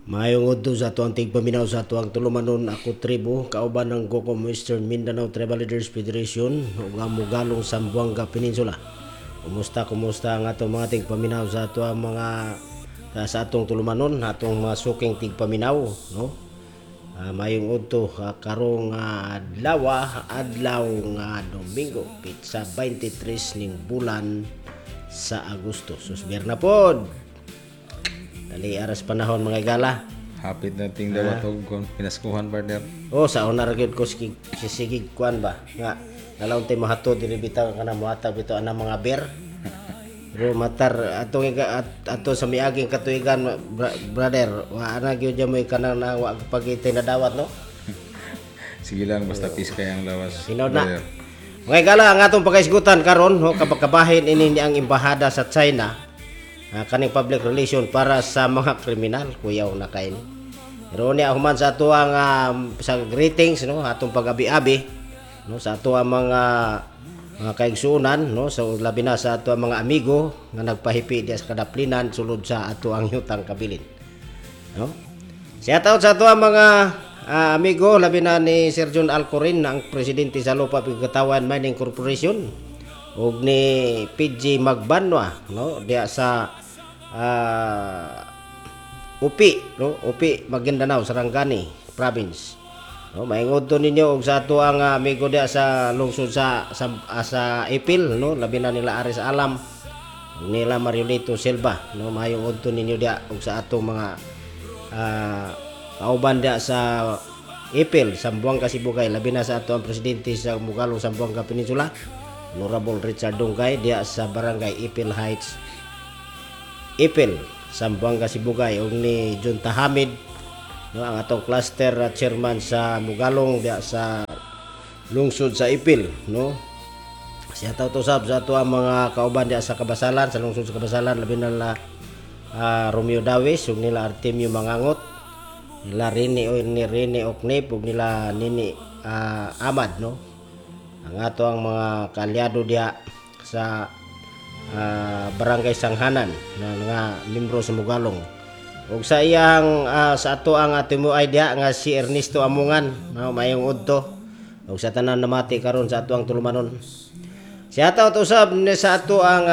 Maayong udto sa atuang tigpaminaw sa atuang tulumanon. Ako tribo kauban ng Gokom Western Mindanao Tribal Leaders Federation ug ang Mugalong Zamboanga Peninsula. Kumusta, kumusta ang atong mga tigpaminaw sa atuang mga sa atong tulumanon, atong mga suking tigpaminaw, no? Maayong udto karong adlaw, adlaw nga Domingo, petsa 23 ning bulan sa Agosto. Susber na pod. Dali aras panahon, mga igala. Hapit na ting dawat og kon pinaskuhan, partner. Oh, sa una ra gyud ko sige sigig kuan ba nga nalaon tay mahatod diri bitaw kana mohatag bitaw ana mga beer. Pero matar atong ato sa miaging katuigan, brother, wa ana gyud mo kanang na wa pagitay na dawat, no? Sige lang, basta peace kay ang lawas. Hinaw na. Brother. Mga igala, ang atong pagkaisgutan karon, ho, kabahin ini ni ang embahada sa China, kaning public relation para sa mga kriminal, kuyaw na kay ni. Pero niya human sa atuang sa greetings, no, atong pag-abi-abi, no, sa atuang mga kaigsuonan, no, sa labi na sa atuang mga amigo nga nagpahipi diya sa kadaplinan sulod sa atuang yutang kabilin. No? Shout out sa ato ang mga amigo, labi na ni Sir John Alcorin, ang presidente sa Lupa Pigkatawan Mining Corporation, ug ni PG Magbanwa, no, diya sa Upi, no, Upi, Maguindanao, Sarangani Province. No, maingod to ninyo og sa ato ang amigo diya sa lungsod sa Ipil, no, labi na nila Aris Alam, ug nila Mariolito Silva, no, maayong udto ninyo diya ug sa atong mga kauban diya sa Ipil, Zamboanga Sibugay, labi na sa ato ang presidente sa Mugalong Zamboanga Peninsula, Honorable Richard Dungkay, diya sa Barangay Ipil Heights, Ipil, Zamboanga Sibugay, ug ni John Tahamid, no, ang atong cluster chairman sa Mugalong diya sa lungsod sa Ipil, no. Shout out usab sa ato ang mga kauban diya sa Kabasalan, sa lungsod sa Kabasalan, labi na nila Romeo Dawis ug nila Artemio Mangangot, nila Rini o ni Rini Oknip ug nila Nini Amad, no, ang ato ang mga kaalyado diya sa Barangay Sanghanan na nga membro sa Mugalong. Ug sa iyang sa ato ang timuay diha nga si Ernesto Amungan, no, mayong udto ug sa tanan namati karon sa ato ang tulumanon. Shout out usab ni sa ato ang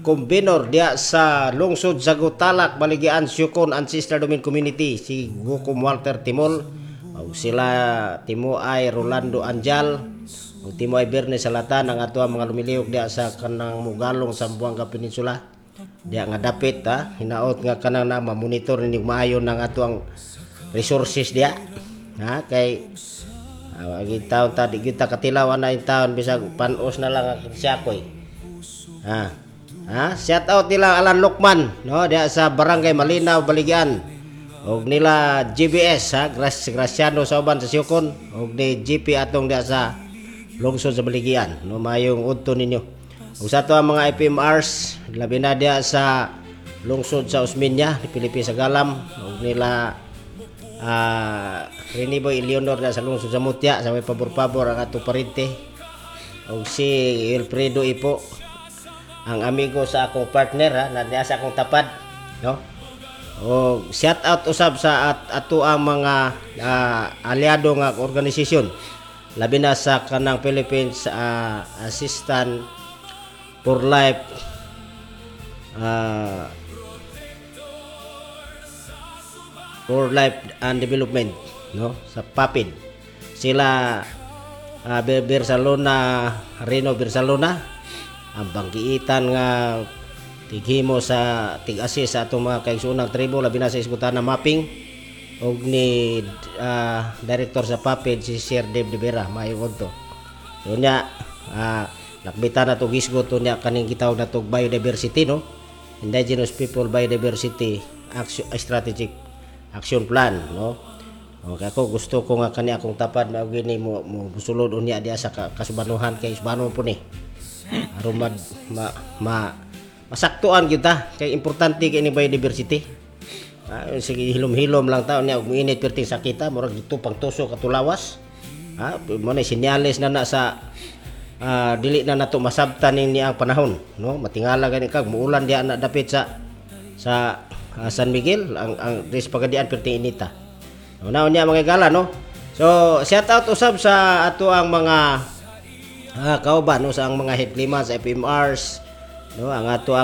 convenor diha sa lungsod sa Gutalac, Baligian, Siocon Ancestral Domain Community, si Gukom Walter Timol ug sila Timuay Rolando Anjal ug Timuay Berne Salatan, ang ato ang mga lumilihok diha sa kanang Mugalong Zamboanga Peninsula diha nga dapit ha hinaot nga kanang na mamonitor ninyo maayo ng ato ang resources diha ha, kay agi taon ta di kita katilaw ana in taon bisag panos na lang ang siyakoy. Ha. Ha, shout out nila Alan Lokman, no, diha sa Barangay Malinaw, Baligian. Og nila GBS ha, Graciano sa uban sa Siocon og ni GP atong diha sa lungsod sa Baligian, no, mayong udto ninyo. Ug sa ato ang mga IPMRs, labi na diha sa lungsod sa Osmeña, ni Felipe Sagalam ug nila Reniboy Eleonor diha sa lungsod sa Mutya, sa may pabor-pabor ang atong parente ug si Wilfredo Ipo, ang amigo sa akong partner ha, na diha sa akong tapad, no. O shout out usab sa ato ang mga aliado nga organisasyon, labi na sa kanang Philippines Assistant for Life and Development, no, sa PAPID, sila Bersalona Reno Bersalona, ang banggiitan nga tighimo sa tig-assist sa atong mga kaigsuonang tribo, labi na sa isgutan na mapping, og ni director sa PAPID, si Sir Dave De Vera, maayong udto. So nya lakbitan na to gisgot to nya kaning gitawag na tog biodiversity, no, Indigenous People Biodiversity Action Strategic Action Plan, no. Okay, ako gusto ko nga kani akong tapad mao gini mo mo sulod unya diha sa kasubanuhan kay subano po ni aron ma masaktuan gyud ta kay importante kay ni biodiversity. Sige, hilom-hilom lang taon niya ug moinit perting sakita, murag dito pang tusok katulawas ha, mo na senyales na na sa dili na nato masabtan ni ang panahon, no, matingala gani kag muulan diha na dapit sa sa San Miguel ang diri sa Pagadian perting inita. Una unya, mga higala, no. So shout out usab sa ato ang mga kauban, no, sa ang mga head klima sa FMRs, no, ang ato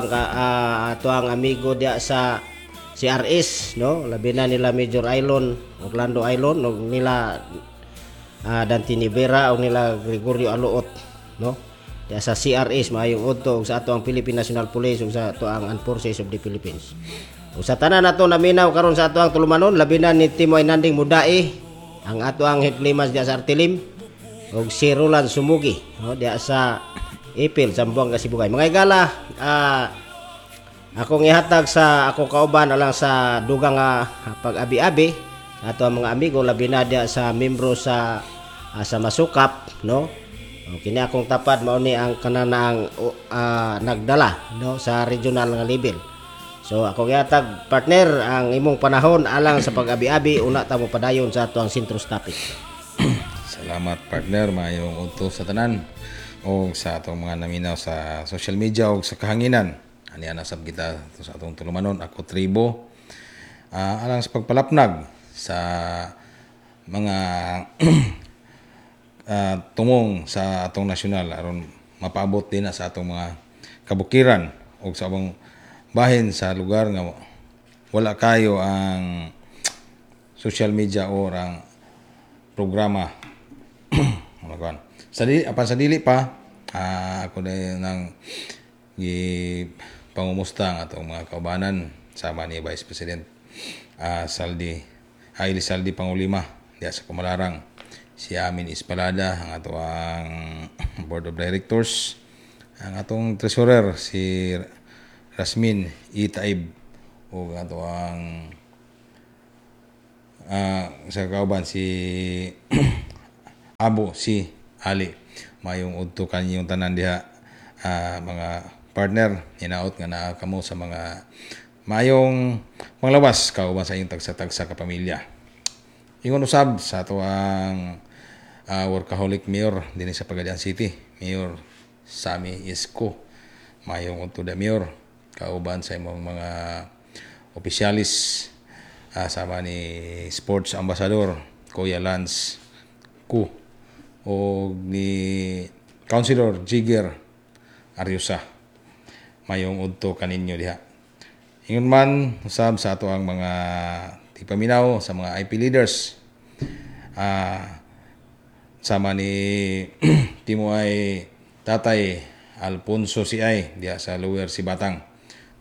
ang amigo diya sa CRS, no, labi na nila Major Ailon, Orlando Ailon, no, nila Dante Nivera o nila Gregorio Aluot, no, diya sa CRS. Maayong udto ug sa ato ang Philippine National Police ug sa ato ang Armed Forces of the Philippines. Ug sa tanan nato naminaw karon sa ato ang tulumanon, labi na ni Timoy Nanding Mudai, ang ato ang head klimas diya sa Artilim, ug si Roland Sumugi, no, diya sa Ipil, Zamboanga Sibugay. Mga higala, akong ihatag sa akong kauban alang sa dugang pag-abi-abi ato ang mga amigo, labi na diya sa membro sa Masukap, no. O, kini akong tapad mao ni ang kanang nagdala, no, sa regional nga level. So ako gihatag, partner, ang imong panahon alang sa pag-abi-abi, una ta mo padayon sa ato ang Sentros topic. Salamat, partner, maayong udto sa tanan o sa atong mga naminaw sa social media o sa kahanginan. Ani ana sab kita sa atong tulumanon, ako tribo. Alang sa pagpalapnag sa mga tumong sa atong nasyonal aron mapaabot din na sa atong mga kabukiran o sa ubang bahin sa lugar nga wala kayo ang social media or ang programa. Ano kuan sa dili apan sa dili pa, ako na nang gi pangumusta ang atong mga kaubanan sama ni Vice President Saldi Haile Saldi Pangulima diya sa Kumalarang, si Amin Espalada, ang ato ang Board of Directors, ang atong treasurer si Rasmin Itaib ug ato ang sa kauban si Abo si Ali. Mayong udto kaninyong tanan diha, mga partner. Hinaot nga naa kamo sa mga maayong panglawas kauban sa inyong tagsa-tagsa ka pamilya. Ingon usab sa ato ang workaholic mayor dinhi sa Pagadian City, Mayor Sami Isko. Mayong udto da, Mayor, kauban sa imong mga opisyalis, sama ni Sports Ambassador Kuya Lance Ku o ni Councilor Jigger Ariosa. Mayong udto kaninyo diha. Ingon man usab sa ato ang mga tigpaminaw sa mga IP leaders, sama ni Timoay Tatay Alfonso CI diha sa Lower Sibatang.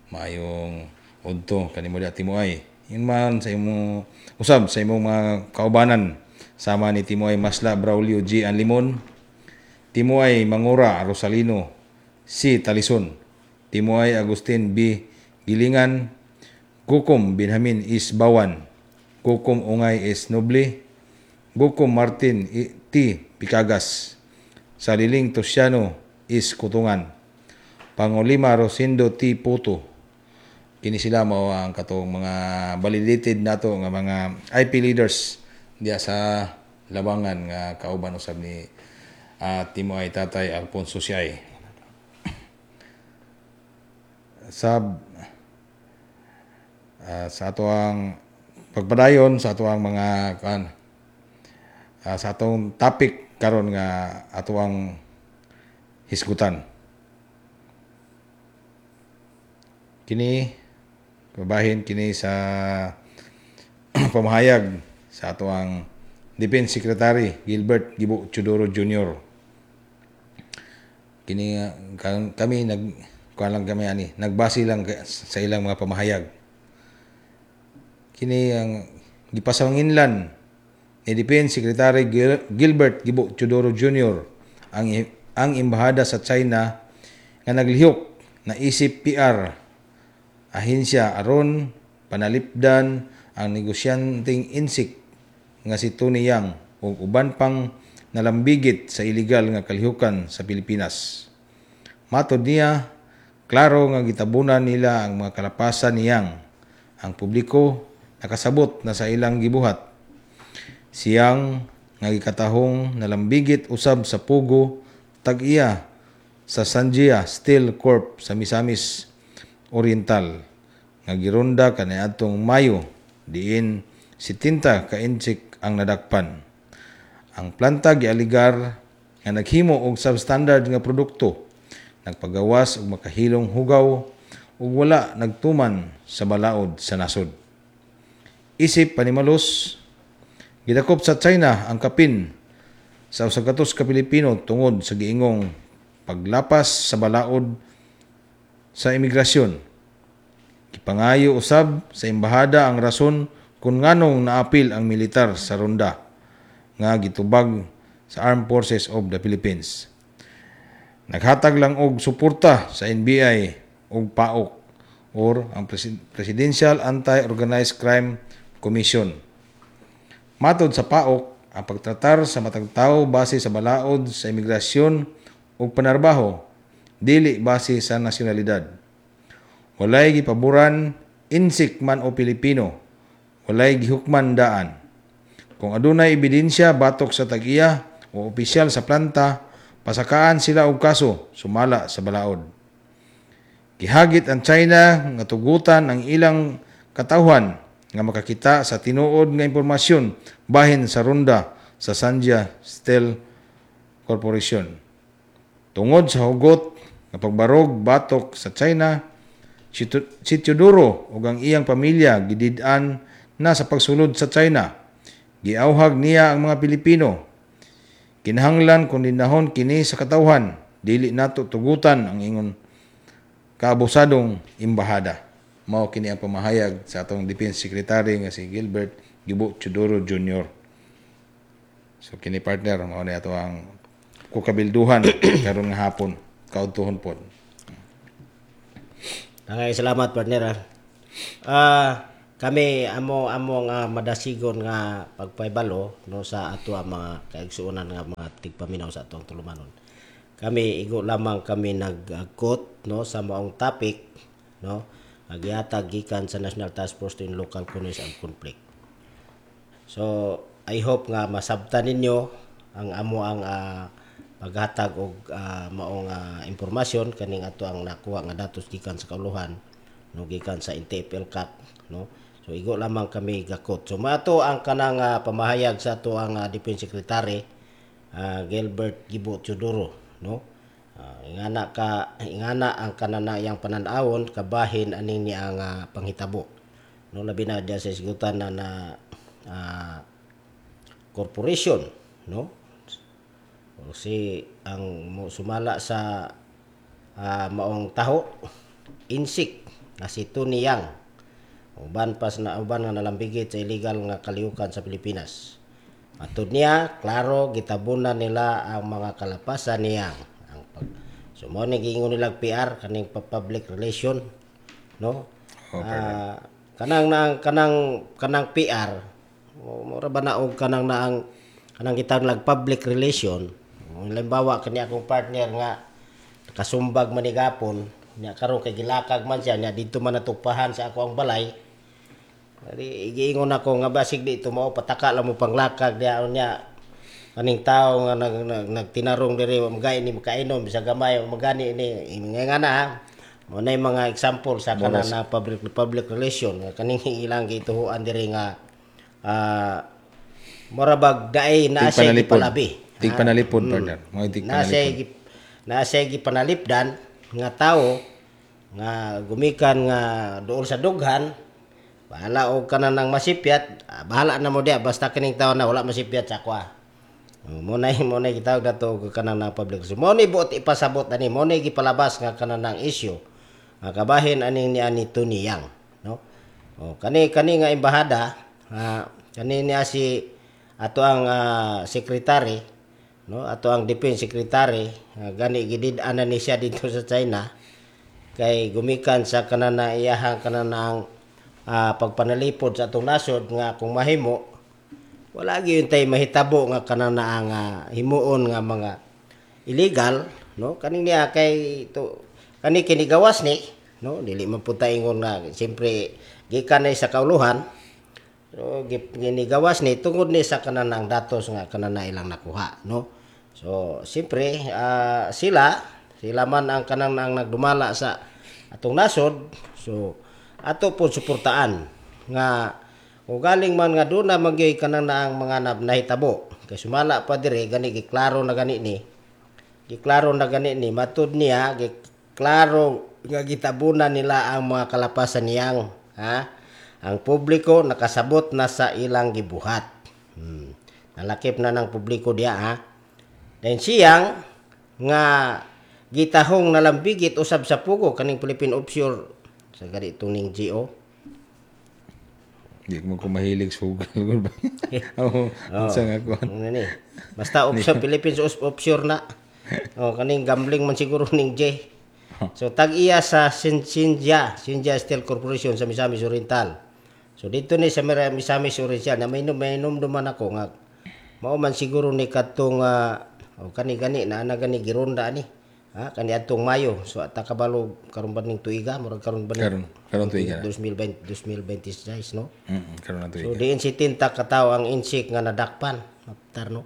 Maayong udto kanimo diha, Timoay. Ingon man sa imo usab sa imong mga kaubanan sama ni Timoay Masla Braulio G. Anlimon, Timoay Mangura Rosalino C. Talison, Timoay Agustin B. Gilingan, Gukom Benjamin S. Bawan, Gukom Ungay S. Noble, Gukom Martin T. Picagas, Saliling Tosiano S. Kutungan, Pangulima Rosendo T. Puto. Kini sila mao ang katong mga validated nato nga mga IP leaders diya sa Labangan nga kauban usab ni Timoay Tatay Alfonso Siay. Sab sa ato ang pagpadayon sa ato ang mga kan sa atong topic karon nga ato ang hisgutan. Kini babahin kini sa pamahayag sa ato ang Defense Secretary Gilbert Gibo Teodoro Jr. Kini kami nag kuan lang kami ani, nagbase lang sa ilang mga pamahayag. Kini ang gipasanginlan ni Defense Secretary Gilbert Gibo Teodoro Jr. ang embahada sa China nga naglihok na isip PR ahensya aron panalipdan ang negosyanteng insik nga si Tony Yang ug uban pang nalambigit sa illegal nga kalihukan sa Pilipinas. Matod niya, klaro nga gitabunan nila ang mga kalapasan ni Yang. Ang publiko nakasabot na sa ilang gibuhat. Siyang nga gikatahong nalambigit usab sa Pugo tag-iya sa Sanjia Steel Corp sa Misamis Oriental nga gironda kaniadtong Mayo, diin 70 ka Intsik ang nadakpan. Ang planta gialigar nga naghimo og substandard nga produkto, nagpagawas og makahilong hugaw ug wala nagtuman sa balaod sa nasod. Isip panimalos, gidakop sa China ang kapin sa 100 ka Pilipino tungod sa giingong paglapas sa balaod sa imigrasyon. Gipangayo usab sa embahada ang rason kung nganong naapil ang militar sa ronda nga gitubag sa Armed Forces of the Philippines. Naghatag lang og suporta sa NBI ug PAOCC or ang Presidential Anti-Organized Crime Commission. Matod sa PAOCC, ang pagtratar sa matag tawo base sa balaod sa imigrasyon ug panarbaho, dili base sa nasyonalidad. Walay gipaboran, Intsik man o Pilipino, walay gihukman daan. Kung adunay ebidensya batok sa tag-iya o opisyal sa planta, pasakaan sila og kaso sumala sa balaod. Gihagit ang China nga tugutan ang ilang katawhan nga makakita sa tinuod nga impormasyon bahin sa ronda sa Sanjia Steel Corporation. Tungod sa hugot nga pagbarog batok sa China, si Teodoro ug ang iyang pamilya gidid-an na sa pagsulod sa China. Giawhag niya ang mga Pilipino. Kinahanglan kondinahon kini sa katawhan, dili nato tugutan ang ingon kaabusadong embahada. Mao kini ang pamahayag sa atong Defense Secretary nga si Gilbert Gibo Teodoro Jr. So kini, partner, mao ni ato ang kukabilduhan karon nga hapon, kaudtohon pod. Daghang salamat, partner. Ah. Ah, kami amo nga madasigon nga pagpahibalo, no, sa ato ang mga kaigsuonan nga mga tigpaminaw sa atong tulumanon. Kami igo lamang kami nag-quote, no, sa maong topic, no, nga gihatag gikan sa National Task Force to Local Conflict and Conflict. So I hope nga masabtan ninyo ang amo ang paghatag og maong impormasyon kaning ato ang nakuha nga datos gikan sa kauluhan, no, gikan sa NTF-ELCAC, no. So igo lamang kami gakot. So maato ang kanang pamahayag sa ato ang Defense Secretary Gilbert Gibo Teodoro, no. Ingana ka ingana ang kananayang pananawon kabahin aning niya ang panghitabo, no, labi na diya sa isgutan na na corporation, no, o si ang mo sumala sa maong taho Intsik na si Tony Yang, uban pas na uban nga nalambigit sa illegal nga kalihukan sa Pilipinas. Matud niya, klaro gitabunan nila ang mga kalapasan niya. Ang pag So mo ni giingon nila PR, kaning public relation, no? Oh. Ah, kanang na kanang kanang PR, mura ba na og kanang naang kanang gitawag lag public relation. Halimbawa kani akong partner nga kasumbag man ni gapon nya, karon kay gilakag man siya nya didto man natugpahan sa ako ang balay. Di giingon ako nga basig di mao pataka lang mo panglakag diha nya, kaning tao nga nagtinarong diri wa magay ni makainom bisag gamay, wa magani ni nga na ha. Mo na yung mga example sa kanang na public public relation nga kaning ilang gituhuan diri nga mura bag daay na siya Tigpanalipod. Gipalabi. Tigpanalipod, partner. Mga Na siya tigpanalipod. Na siya gipanalipdan nga tawo nga gumikan nga duol sa dughan, bahala og kanan ng masipyat, bahala na mo diya, basta kining tawo na wala masipyat sa akwa. Oh, mo na gitawag nato og kanang na public. So, mo ni buot ipasabot ani, mo ni gipalabas nga kanan ng issue nga kabahin aning ni ani Tony Yang, no. Oh, kani kani nga embahada, kani niya si ato ang secretary, no, ato ang defense secretary, gani gidid-an na ni siya dito sa China kay gumikan sa kanan na iyahang kanan ang pagpanalipod sa atong nasod nga kung mahimo wala gyud tay mahitabo nga kanan na ang himuon nga mga illegal, no. Kaning niya kay to kani kinigawas ni, no, dili man pud ta ingon nga siyempre gikan na sa kauluhan. So ginigawas ni tungod ni sa kanang datos nga kanan na ilang nakuha, no. So siyempre sila sila man ang kanang ang nagdumala sa atong nasod. So Ato po suportaan nga o galing man nga doon na magyoy kanang naang mga nahitabo kay sumala pa dire gani giklaro na gani ni, giklaro na gani ni, matud niya giklaro nga gitabunan nila ang mga kalapasan niyang, ha, ang publiko nakasabot na sa ilang gibuhat. Nalakip na ng publiko diya, ha. Then siyang nga gitahong nalambigit usab sa pugo kaning Philippine Offshore sa gani ning GO. Di mo ko mahilig sa hugal ba? Oo, unsa nga kuan. Ano ni? Basta offshore, Philippines Offshore na. Oh, kaning gambling man siguro ning J. So tag-iya sa Sinja Steel Corporation sa Misamis Oriental. So dito ni sa Misamis Oriental na may duman ako nga mao man siguro ni kadtong oh, kani gani na ana gani gironda ani. Ha, kani adtong Mayo. So ata kabalo karon ba ning tuiga, murag karon ba ning Karon tuiga na. 2020, 2026, no? Karon na So tuiga. diin si tinta kataw ang insik nga nadakpan. Maptar, no.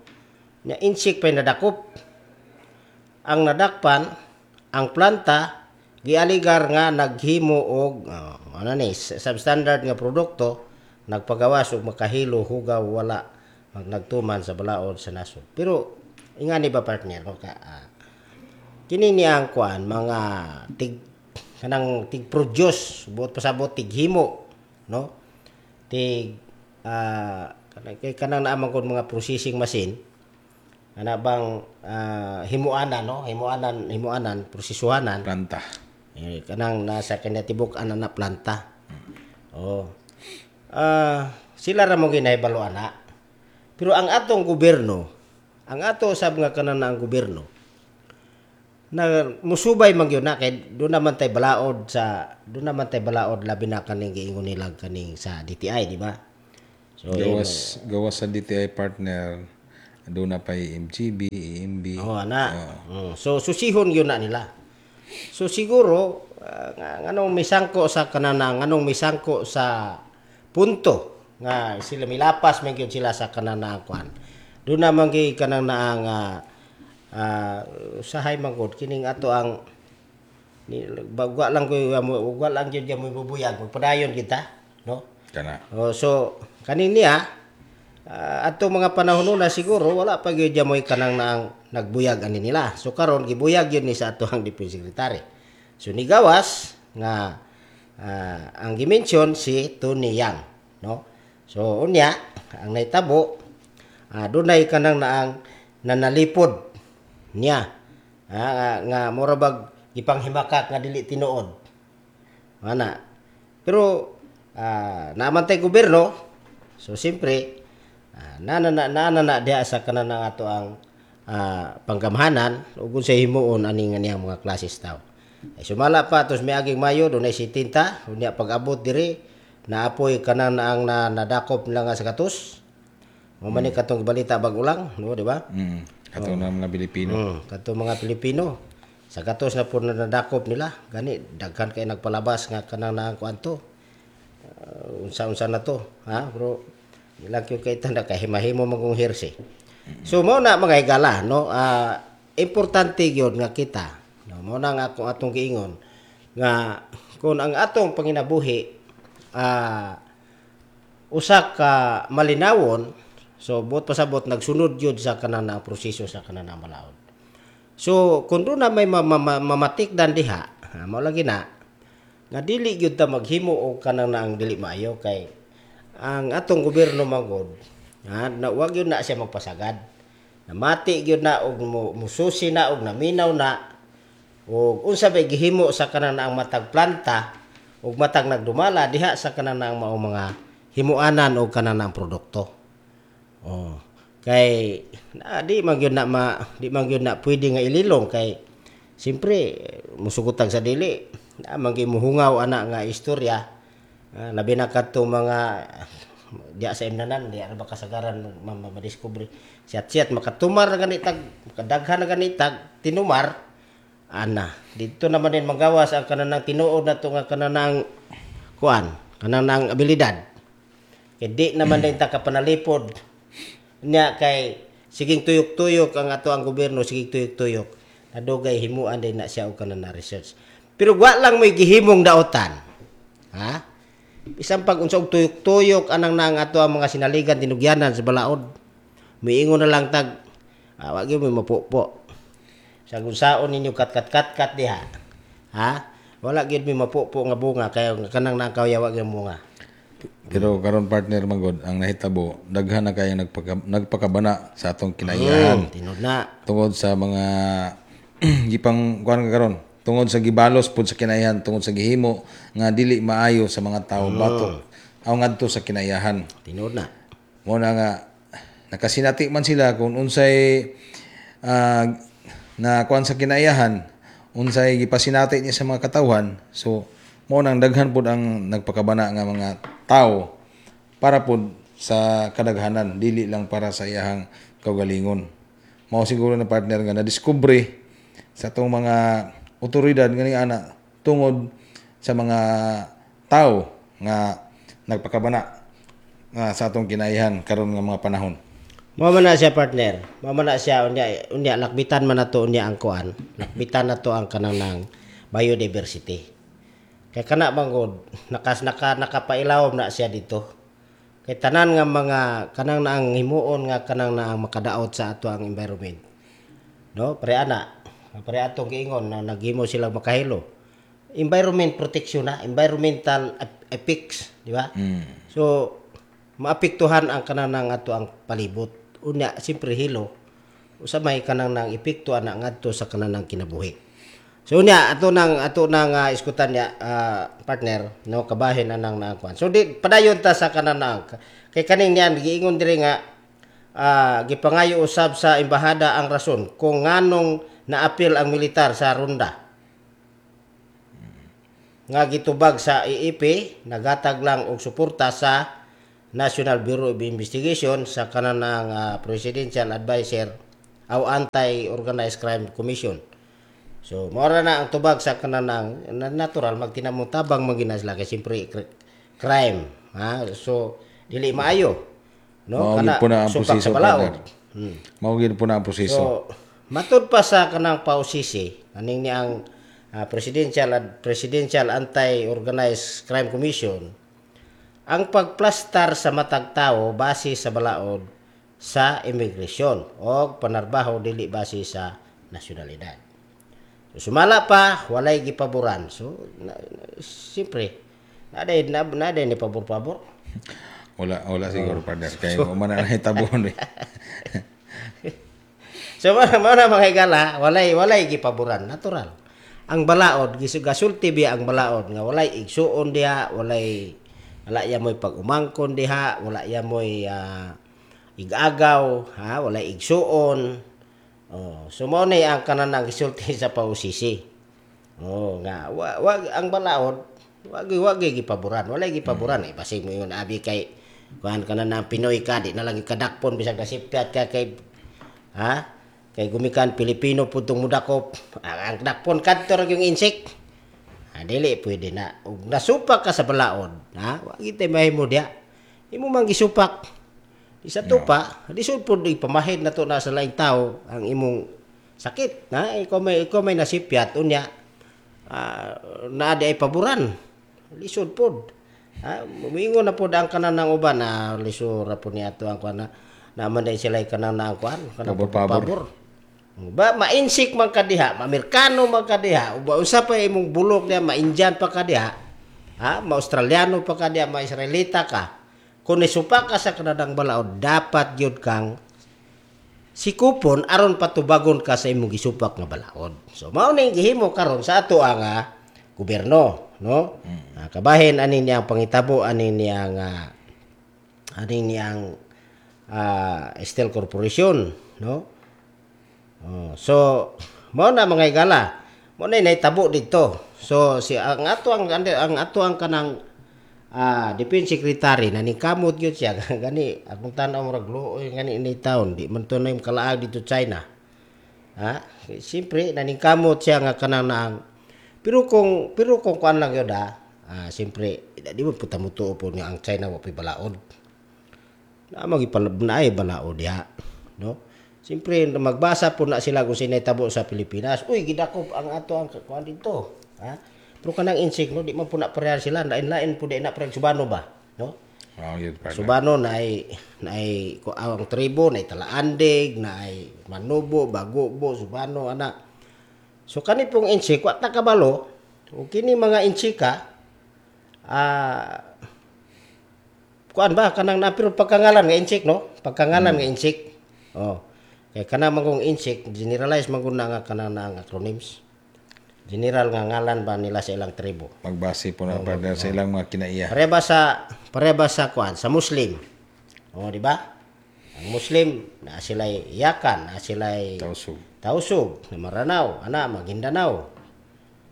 Nya insik pay nadakop. Ang nadakpan ang planta gialigar nga naghimo og ano ni substandard nga produkto, nagpagawas og makahilo hugaw wala nagtuman sa balaod sa nasod. Pero ingani ba, partner, no ka kini niya ang kuan mga tig kanang tig produce, buot pasabot tig himo, no, tig kanang kay kanang naa man gud mga processing machine ana bang himuanan, no, himuanan, himuanan, prosesuhanan. Planta. Eh, kanang nasa kanya tibok-an na planta. Oh. Sila ra mo ginahibalo ana. Pero ang atong gobyerno, ang ato sab nga kanan ang gobyerno na musubay man gyud na kay doon naman tay balaod, labi na kaning giingon nila kaning sa DTI, di ba? So Gawas gawas sa DTI, partner, doon na pay MGB, EMB. Oh, ana. So susihon gyud na nila. So siguro nga nganong misangko sa kanana, nganong misangko sa punto nga sila milapas man gyud sila sa kanana kuan. Doon naman gyud kanang naa nga usahay man gud kining ato ang ni bagwa lang ko ugwa lang gyud mo bubuyag, magpadayon kita, no? Kana. Oh, so kaning niya atong mga panahon nuna siguro wala pa gyud mo'y kanang naang nagbuyag ani nila. So karon gibuyag gyud ni sa ato ang Defense Secretary. So nigawas nga ang gimension si Tony Yang, no? So unya ang nahitabo, dunay kanang naang nanalipod niya. Nga mura bag gipanghimakak nga dili tinuod. Ana. Pero naman tay gobyerno, so siyempre nana na nana na diha sa kanan nga ato ang panggamhanan ug sa himuon ani nga niyang mga klases taw. Ay sumala pa tos miaging Mayo dunay si tinta unya pag-abot diri naapoy kanan ang nadakop nila nga sa katus. Mo man ni katong balita bag ulang, no, di ba? Kato na mga Pilipino. Kadto mga Pilipino. Sa gatos na po na nadakop nila, gani daghan kay nagpalabas nga kanang naang kuan to. Unsa-unsa na to, ha? Pero ilang gyud kay tanda kay himahimo man kung hearsay. So mao na mga higala, no? Importante gyud nga kita, no? Mao na nga akong atong giingon nga kung ang atong panginabuhi usa ka malinawon, so buot pasabot nagsunod gyud sa kanan na proseso sa kanan na balaod. So kung doon na may mamatikdan diha, ha, mao lagi na nga dili gyud ta maghimo og kanang naang dili maayo kay ang atong gobyerno man gud, ha, na wag gyud na siya magpasagad. Namati gyud na og mususi na og naminaw na og unsa bay gihimo sa kanang naang matag planta ug matag nagdumala diha sa kanang naang mao mga himuanan og kanang naang produkto. Oh. Kay na, di man gyud na pwede nga ililong kay siyempre musugotag sa dili na man gyud muhungaw ana nga istorya. Labi na kadto mga diya sa imnanan, diya ra ba kasagaran madiskubre siat-siat makatumar na gani tag makadaghan na gani tag tinumar ana dito naman din magawas ang kanang tinuod na to nga kanang kuan kanang abilidad kay di naman din ta kapanalipod niya kay siging tuyok-tuyok ang ato ang gobyerno, siging tuyok-tuyok nadugay himuan din na siya og kanang na research, pero wa lang may gihimong daotan. Ha? Bisan pag unsa og tuyok-tuyok anang na ang ato ang mga sinaligan tinugyanan sa balaod. Miingon na lang tag wa gyud mo mapupo. Sa unsaon ninyo kat kat kat kat diha. Ha? Wala gyud mi mapupo nga bunga kay kanang na ang kawayawa gyud bunga. Pero karon, partner, manggod ang nahitabo, daghan na kayong nagpakabana sa atong kinaiyahan. Tinud na. Tungod sa mga gipang kuan ka karon, tungod sa gibalos pud sa kinaiyahan, tungod sa gihimo nga dili maayo sa mga tawo batok aw ngadto sa kinaiyahan. Tinud na. Mo na nga nakasinati man sila kung unsay na kuan sa kinaiyahan, unsay gipasinati niya sa mga katawhan. So mo nang daghan pud ang nagpakabana nga mga tao para pud sa kadaghanan, dili lang para sa iyahang kaugalingon. Mao siguro na, partner, nga nadiskubre sa atong mga otoridad ngani ana tungod sa mga tao nga nagpakabana nga sa atong kinaiyahan karon nga mga panahon. Mao man na siya, partner. Mao man na siya, unya unya lakbitan man nato unya ang kuan. Lakbitan nato ang kanang nang biodiversity. Kay kana man gud nakas naka nakapailawom na siya dito. Kay tanan nga mga kanang na ang himuon nga kanang na ang makadaot sa ato ang environment. No, pre ana. Pre atong giingon na naghimo sila makahilo. Environment protection na, environmental effects, di ba? So maapektuhan ang kanang nang ato ang palibot. Unya siyempre hilo usa may kanang nang epekto ana ngadto sa kanang nang kinabuhi. So unya ato nang iskutan niya, partner, no, kabahin anang na kuan. So di padayon ta sa kanang nang kay kaning niyan giingon diri nga gipangayo usab sa embahada ang rason kung nganong naapil ang militar sa ronda nga gitubag sa AFP nagatag lang og suporta sa National Bureau of Investigation sa kanang Presidential Advisor aw Anti-Organized Crime Commission. So mao ra na ang tubag sa kanang natural magtinamong tabang man gina sila kay siyempre crime, ha. So dili maayo, no? Mao gyud po na ang supak proseso, sa balaod. Partner. Mao gyud po na ang proseso. So, matud pa sa kanang pausisi, aning ni ang Presidential Anti-Organized Crime Commission, ang pagplastar sa matag tao base sa balaod sa immigration o panarbaho dili base sa nasyonalidad. So, sumala pa, walay gipaboran. So, siyempre, naday ni pabor-pabor. Wala, wala siguro, partner, kay mo man na nahitabo eh. So mao na, mga higala, walay gipaboran, natural. Ang balaod gasulti biya ang balaod nga walay igsuon diha, wala ya mo'y pag-umangkon diha, wala ya mo'y igagaw, ha, walay igsuon. Oh, so mao ni ang kanan ang gisulti sa pausisi. Oh, nga wa ang balaod wag gipaboran, walay gipaboran eh. Basig mo yun abi kay kuan kanan na Pinoy ka, di na lang kadakpon bisag nasipyat ka kay, ha, kay gumikan Pilipino pud tong mudakop. Ang dakpon kadto ra yung insect. Ha, dili pwede na. Ug nasupak ka sa balaod, ha, wa gid mahimo diha. Imo man gisupak. Di sa tupa, lisod pud ipamahid na to na sa laing tao ang imong sakit, na ikaw may nasipyat unya naa di ay paboran. Lisod pod. Ha, muingon na pod ang kanan ng uban na lisod ra pod niya ato ang kuan na naman dahil sila kanang na ang kuan kanang Pabor-pabor. Pabor. Ba mainsik man ka diha, ma-Amerikano man ka diha, uba usa pa imong bulok diha, ma-Indian pa ka diha, ha, ma-Australiano pa ka diha, ma-Israelita ka. Kung nisupa ka sa kanadang balaod, dapat gyud kang sikupon aron patubagon ka sa imong gisupak nga balaod. So mao ning gihimo karon sa ato ang gobyerno, no? Kabahin ani niyang pangitabo ani niyang Steel Corporation, no? Oh, so mao na, mga higala. Mao na nahitabo dito. So si ang ato ang kanang Defense Secretary na ningkamot gyud siya gani akong tan-aw murag luoy gani ni taon di man to na yung kalaag dito China. Ha? Siyempre naningkamot siya nga kanang naang pero kung kuan lang yun, siyempre di mo puta mo tuo po nga ang China wa pay balaod. Na magipalab na ay balaod diha, no? Siyempre magbasa po na sila kung sinay tabo sa Pilipinas. Uy, gidakop ang ato ang kuan dito. Ha? Pero kanang Intsik, no, di man po na pareha sila, lain-lain po di na pareha Subano ba, no? Oh, yun, partner. Subano na ay ang tribo na ay Talaandig, na ay Manubo, Bagobo, Subano ana. So kani pong Intsik wa ta kabalo ug kini mga Intsika kuan ba kanang na pero pagkangalan nga Intsik, no? Pagkangalan nga Intsik. Oh. Kay kanang mangong Intsik, generalize man gud na nga kanang na ang acronyms. General nga ngalan ba nila sa ilang tribo. Magbase po na, partner, sa ilang mga kinaiya. Pare ba sa kuan, sa Muslim. Oh, di ba? Ang Muslim na sila'y Yakan, na sila'y Tausug. Tausug, na Maranao, ana Maguindanao.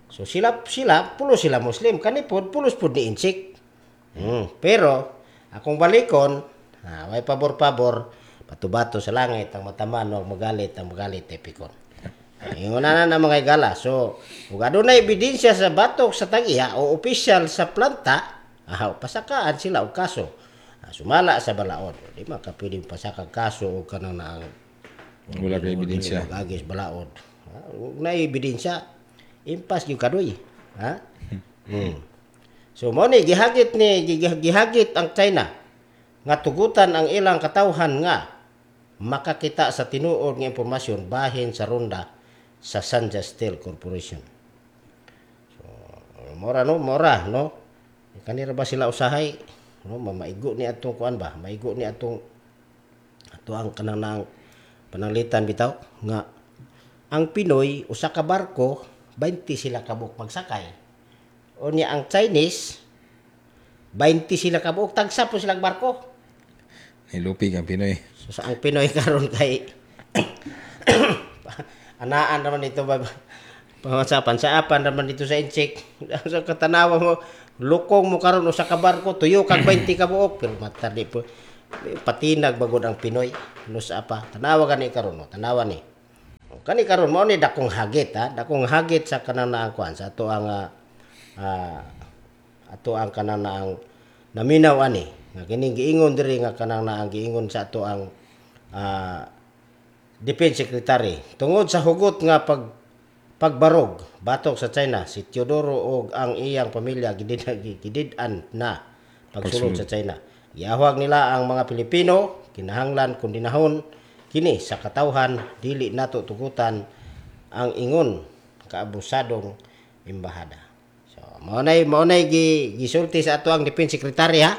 So sila sila pulos sila Muslim, kani pod pulos pod ni Intsik. Pero akong balikon, way pabor-pabor, batubato sa langit ang mataman og magalit ang magalit ay pikon. Ingon na na mga igala. So, ug adunay ebidensya sa batok sa tag-iya o opisyal sa planta, pasakaan sila og kaso. Sumala sa balaod. Di man ka pwedeng pasakag kaso og kanang naang Wala kay ebidensya. Agis balaod. Ug na ebidensya, impas gyud kadoy. Ha? So mo ni gihagit ni gihagit ang China nga tugutan ang ilang katawhan nga makakita sa tinuod nga impormasyon bahin sa ronda sa Sanja Steel Corporation. So mora no, mora no. Kanira ba sila usahay no, maigo ni atong kuan ba, maigo ni atong ato ang kanang nang pananglitan bitaw nga ang Pinoy usa ka barko 20 sila kabuok magsakay. O niya ang Chinese 20 sila kabuok, tagsa po silang barko. Nilupig ang Pinoy. So sa ang Pinoy karon kay anaan naman ito ba sa pansaapan naman dito sa Intsik. Sa katanawa mo lukong mo karon usa ka barko tuyo kag 20 ka buok, pero mata di po patinag bagod ang Pinoy nusa pa. Tanawa gani karon no, tanawa ni. Kani karon mao ni dakong hagit, ha, dakong hagit sa kanang naang kuan sa ato ang ato ang kanang naang naminaw ani nga kining giingon diri nga kanang naang giingon sa ato ang Defense Secretary tungod sa hugot nga pagbarog batok sa China si Teodoro og ang iyang pamilya gidid-an na pagsulod sa China. Giahwag nila ang mga Pilipino kinahanglan kondinahon kini sa katawhan, dili nato tugutan ang ingon kaabusadong embahada. So mao nay gisulti sa ato ang Defense Secretary, ha.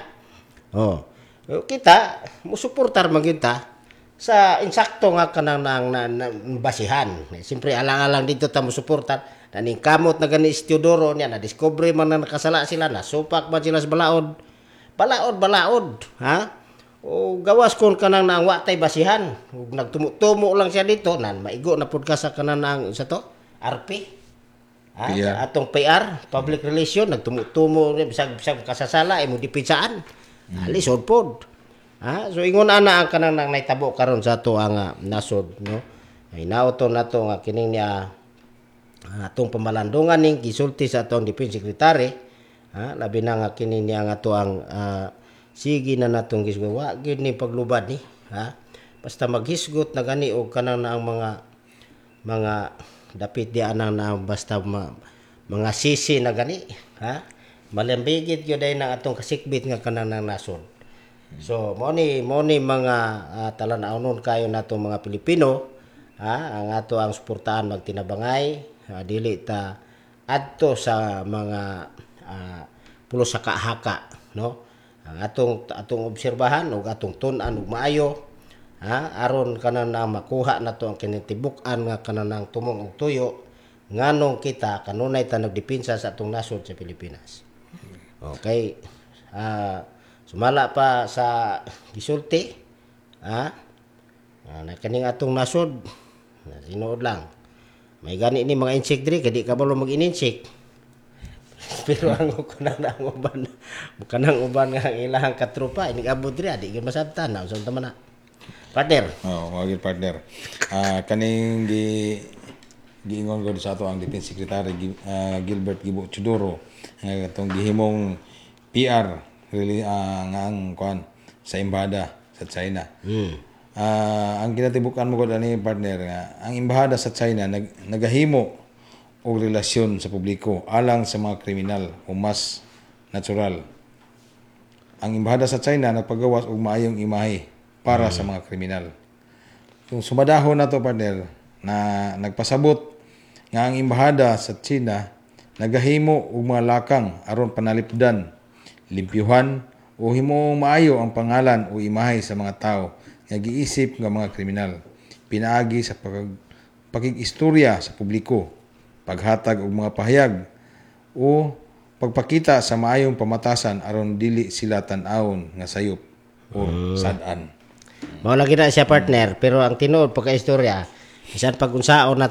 Oh. Kita musuportar man gyud ta sa insakto nga kanang nang na, basihan. Siyempre alang-alang dito ta musuportar naning kamot na gani si Teodoro niya na discover man na nakasala sila, nasupak man sila sa balaod. Balaod, balaod, ha? O gawas kon kanang nang wa tay basihan, ug nagtumo-tumo lang siya dito, nan maigo na pud ka sa kanang nang sa to RP. Ha? PR. Sa atong PR, public relation, nagtumo-tumo bisag bisag kasasala imo dipitsaan. Lisod pod. Ha? So ingon ana ang kanang nang nahitabo karon sa ato ang nasod, no. Ay nauto nato nga kining niya atong pamalandungan ning gisulti sa atong Defense Secretary, ha, labi na nga kini niya nga ato ang sige na natong gisgot, wa gyud ni paglubad ni, ha. Basta maghisgot na gani og kanang na ang mga dapit di anang na basta mga sisi na gani, ha. Malambigit gyud ay na atong kasikbit nga kanang nang nasod. So mo ni mga talan-awnon kayo nato mga Pilipino, ha, ang ato ang suportahan magtinabangay, dili ta adto sa mga pulos sa kahaka, no. Ang atong obserbahan ug atong tun-an og maayo, ha, aron kanan na makuha nato ang kinitibuk-an nga kanan ang tumong og tuyo nganong kita kanunay ta nagdepensa sa atong nasod sa Pilipinas. Okay. Sumala pa sa gisulti, ha, na kaning atong nasod na tinuod lang. May gani ni mga insect diri kay di ka balo mag-insect. Pero ang kanang ang uban, kanang uban nga ang ilahang katropa inig abot diri di gyud masabtan na unsa man na. Partner. Oh, mao gyud, partner. Kaning giingon ko sa ato ang Defense Secretary Gilbert Gibo Teodoro nga atong gihimong PR really, nga ang kuan sa embahada sa China. Ang kinatibukan mo ko ani, partner, nga ang embahada sa China nagahimo og relasyon sa publiko alang sa mga kriminal o mas natural. Ang embahada sa China nagpagawas og maayong imahe para sa mga kriminal. Kung sumadahon na to, partner, na nagpasabot nga ang embahada sa China nagahimo og mga lakang aron panalipdan, limpyuhan o himong maayo ang pangalan o imahe sa mga tao nga giisip nga mga kriminal pinaagi sa pakig-istorya sa publiko, paghatag og mga pahayag o pagpakita sa maayong pamatasan aron dili sila tan-awon nga sayop o sad-an. Mao lagi na siya, partner, pero ang tinuod pagka-istorya, bisan pag unsaon na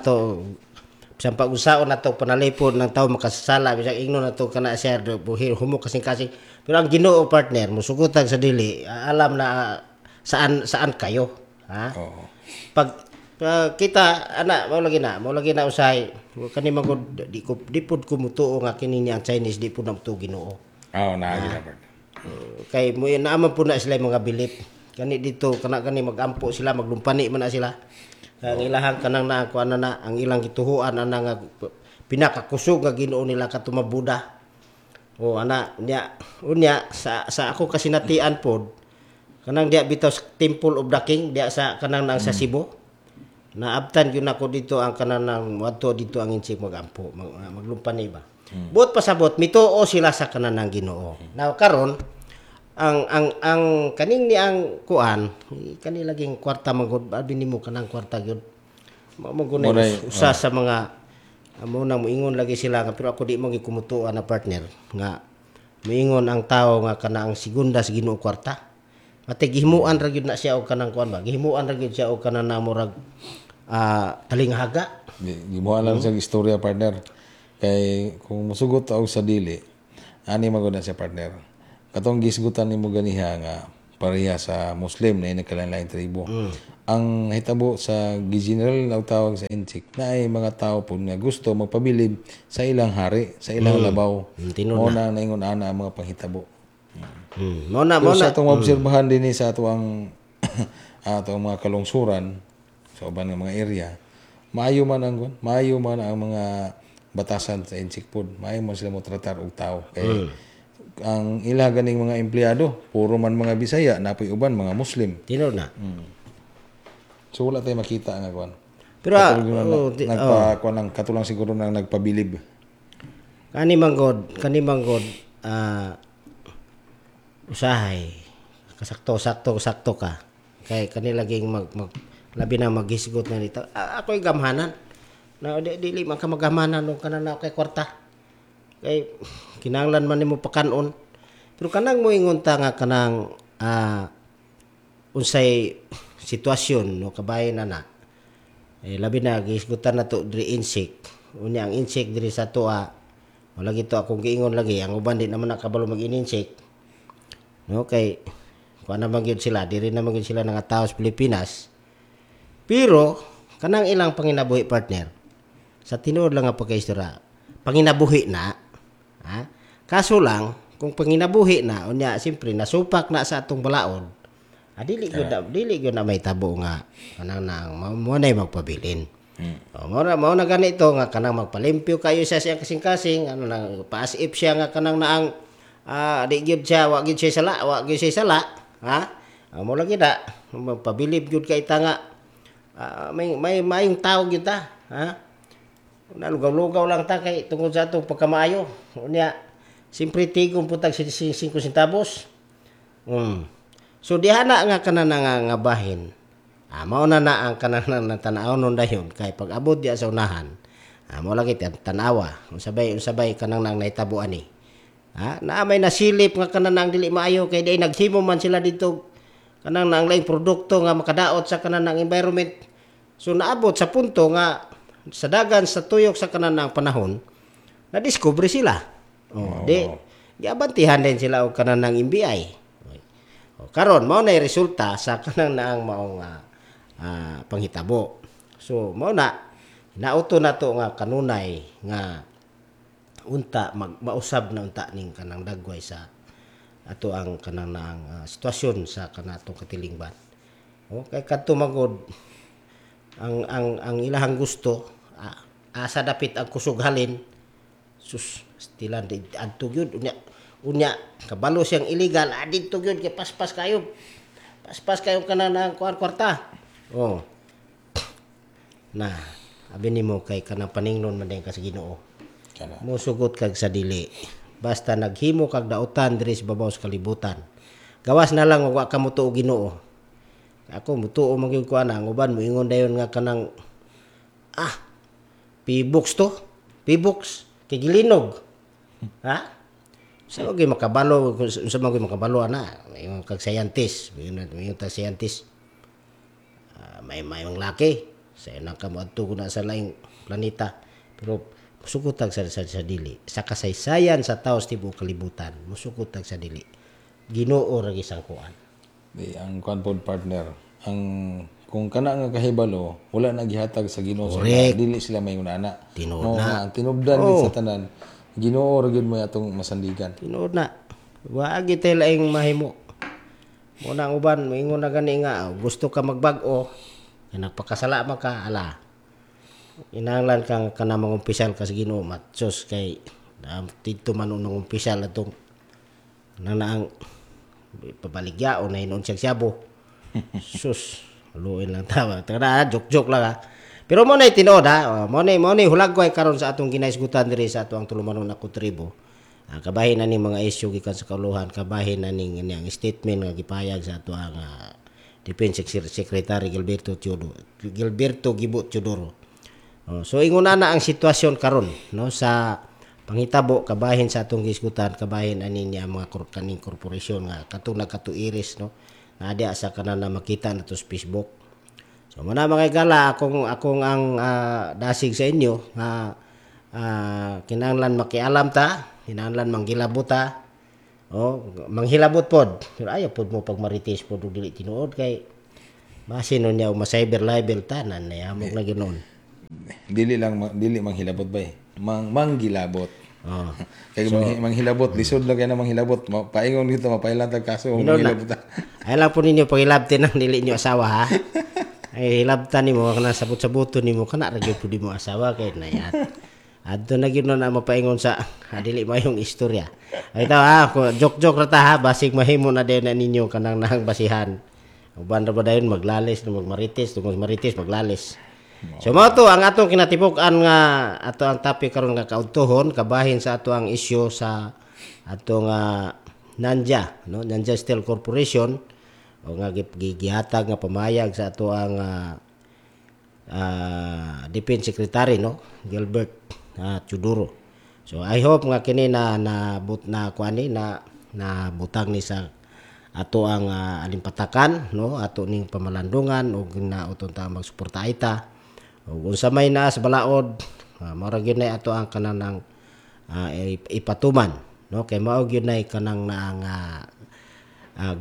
to panalipod ng tao makasasala, bisan ingnon na to kana siya buhi humo kasing-kasing. Pero ang Ginoo, partner, musugutag sa dili, alam na saan saan kayo, ha? Oo. Pag kita ana, mao lagi na usahay kani magud di ko di pud ko mutuo nga kini ni ang Chinese di pud na mutuo Ginoo. Oo, naagi na, partner. Kay mo naaman po na sila yung mga bilip kani dito kana kani magampo sila, maglumpani man na sila. Ang ilahang kanang na kuan na ang ilang gituhuan ana nga pinakakusog nga Ginoo nila kato Buddha. O ana nya unya sa ako kasinatian pod kanang diya bitaw sa Temple of the King diya sa kanang nang sa Cebu, naabtan gyud nako dito ang kanang nang wadto dito ang insik magampo, maglumpani ba. Buot pasabot mituo sila sa kanan ng Ginoo. Now karon ang kaning ni ang kuan kani laging kwarta man gud, abi nimo kanang kwarta gyud mao man gud na usa sa mga amo na moingon lagi sila nga, pero ako di mo gikumutuan na, partner, nga moingon ang tao nga kana ang segunda sa Ginoo kwarta. Mate gihimuan ra gyud na siya og kanang kuan ba, gihimuan ra gyud siya og kanang na murag talinghaga. Gimuha lang sa istorya, partner. Kay kung musugot og sa dili, ani magud na siya, partner. Katong gisgutan nimo ganiha nga pareha sa Muslim na nagkalain-lain tribo. Ang hitabo sa gi-general ang tawag sa Intsik na ay mga tao po nga gusto magpabilib sa ilang hari, sa ilang labaw. Tinuod. Mao na naingon ana ang mga panghitabo. Mo na Pero mo na sa atong maobserbahan din sa atong atong mga kalungsuran sa uban nga mga area, maayo man ang mga batasan sa Intsik pod. Maayo man sila mo tratar og tao. Kay ang ila ganing mga empleyado, puro man mga Bisaya, napoy uban mga Muslim. Tinuod na. So wala tayo makita nga kuan. Pero Katulong oh, nagpa kuan lang katulang siguro nang nagpabilib. Kani manggod usahay kasakto sakto sakto ka kay kani laging mag, mag labi na maghisgot na dito. Ako'y gamhanan na di, dili man ka magamhanan og kanang na kay kwarta kay kinahanglan man nimo pakanon, pero kanang moingon ta nga kanang unsay sitwasyon no kabahin na na eh, labi na gihisgutan na to diri insik. Unya ang insik diri sa tuwa wala gito akong giingon lagi ang uban di naman nakabalo mag-ininsik no, kay kuan naman gyud sila diri naman gyud sila nga tao sa Pilipinas, pero kanang ilang panginabuhi, partner, sa tinuod lang nga pagkaistorya, panginabuhi na, ha, kaso lang kung panginabuhi na unya siyempre nasupak na sa atong balaod, dili gyud na may tabo nga kanang nang mo na magpabilin. O, mao na ganito nga kanang magpalimpyo kayo sa siyang kasing-kasing, ano nang paas if siya nga kanang naang di gyud siya, wa gyud siya sala, wa gyud siya sala, ha? Mo lagi na magpabilib gyud kay ta nga may maayong tao gyud ta, ha? Nalugaw-lugaw lang ta kay tungod sa atong pagkamaayo. Unya, siyempre tigom pud tag 5 centavos. So diha na nga kanan nga bahin. Mao na na ang kanan na tan-aw nun dayon kay pag abot diya sa unahan. Mao lagi tan-awa unsa bay kanang nang nahitabo ani. Ha, naa may nasilip nga kanan nang dili maayo kay di naghimo man sila dito kanang nang laing produkto nga makadaot sa kanan ng environment. So naabot sa punto nga sa dagan sa tuyok sa kanan ng panahon na discover sila. Oh, di giabantihan din sila og kanan ng NBI. O, karon mao na resulta sa kanang naang maong panghitabo. So mao na nauto na to nga kanunay nga unta mausab na unta ning kanang dagway sa ato ang kanang naang sitwasyon sa kanatong katilingban. O kay kadto magod ang ilahang gusto, Asa dapit ang kusog halin. Sus, stilan di adto gyud unya unya kabalo siyang illegal adito gyud kay paspas kayo. Paspas kayo kana na kuan kwarta. Oh. Na, abi nimo kay kanang paningnon man din ka sa Ginoo. Kana. Musugot kag sa dili. Basta naghimo kag dautan diri sa babaw sa kalibutan. Gawas na lang wa ka motuo Ginoo. Ako mutuo man gyud ko ana, ang uban moingon dayon nga kanang P-box to. P-box kay gilinog. Ha? Sa gyud makabalo, unsa man gyud makabalo ana, ingon kag scientist, ingon ta scientist. May mayong laki sa inang ka moadto na sa laing planeta. Pero musugot tag sa dili. Sa kasaysayan sa tawo sa tibuok kalibutan, musugot tag sa dili. Ginoo ra gisangkuan. Di ang kuan pod, partner, ang kung kana nga kahibalo wala na gihatag sa Ginoo sa ila, dili sila may ana. Tinuod Mao na. nga ang tinubdan gid sa tanan, Ginoo ra gyud mo atong masandigan. Tinuod na. Wa gyud tay laing mahimo. Mo na ang uban moingon na gani nga gusto ka magbag-o, kay nagpakasala man ka, ala. Kinahanglan kang kana mangumpisal ka sa Ginoo, matsos kay didto man unong umpisal atong nanaang pabaligya o na hinuon siyang siyabo. Sus, luoy lang tawa. Tara, joke-joke lang ha. Pero mo na tinuod ha. Mo na hulagway karon sa atong ginaisgutan diri sa atong tulumanon na tribo. Kabahin na ning mga isyu gikan sa kauluhan, kabahin na ning ang statement nga gipayag sa ato ang Defense Secretary Gilberto Teodoro, Gilberto Gibo Teodoro. Oh, so ingon na ang sitwasyon karon no sa panghitabo kabahin sa atong gisgutan, kabahin ani niya mga kaning korporasyon nga katong nagkatuiris no na diya sa kanan na makita nato sa Facebook. So muna mga igala, akong akong ang dasig sa inyo nga kinahanglan makialam ta, kinahanglan manghilabot ta. Oh, manghilabot pod. Pero ayaw pod mo pagmarites pod og dili tinuod kay basin nun niya ma-cyber libel tanan na amok lagi noon. Dili lang dili manghilabot bay. Manggilabot. Oh. Kay so, manghilabot lisod lang kay na manghilabot. Paingon dito mapailan tag kaso manghilabot ta. Ay lang po ninyo pagilabtin ang dili niyo asawa ha. Ay hilabtan nimo kana sabot-saboton nimo kana ra gyud pud nimo asawa kay nayat. Adto na gyud na mapaingon sa dili mayong istorya. Ay itaw ha, joke-joke ra ta ha, basig mahimo na din na ninyo kanang nang basihan. Uban ra ba dayon maglalis no magmarites, tungod marites maglalis. So mao to ang atong kinatibuk-an nga ato ang topic karon nga kaudtohon kabahin sa ato ang isyu sa atong Nanja no, Nanja Steel Corporation o nga gihatag nga pamayag sa ato ang Defense Secretary no, Gilbert Teodoro. So I hope nga kini na na but na kuani na na butang ni sa ato ang alimpatakan no, ato ning pamalandungan ug na uton ta magsuporta ita. Ug unsa may naa sa balaod, mao ra gyud nay ato ang kanang ipatuman no, kay mao gyud nay kanang naang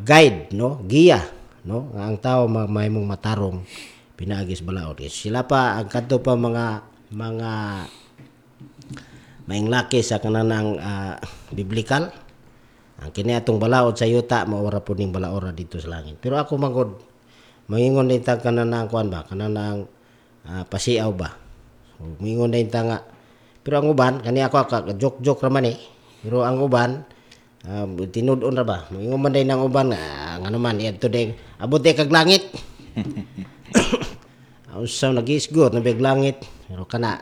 guide no, giya no, nga ang tawo mahimong matarong pinaagi sa balaod. Sila pa ang kadto pa mga maing laki sa kanang biblical. Ang kini atong balaod sa yuta mao ra pud ning balaora dito sa langit. Pero ako magod mangingon din ta kanang kuan ba, kanang pasiaw ba. So, mingon din ta nga pero ang uban kani ako ka joke-joke ra man eh. Pero ang uban tinud-on ra ba. Mingon man din ang uban ngano man iadto din abot di kag langit. Unsa nagisgot na big langit pero kana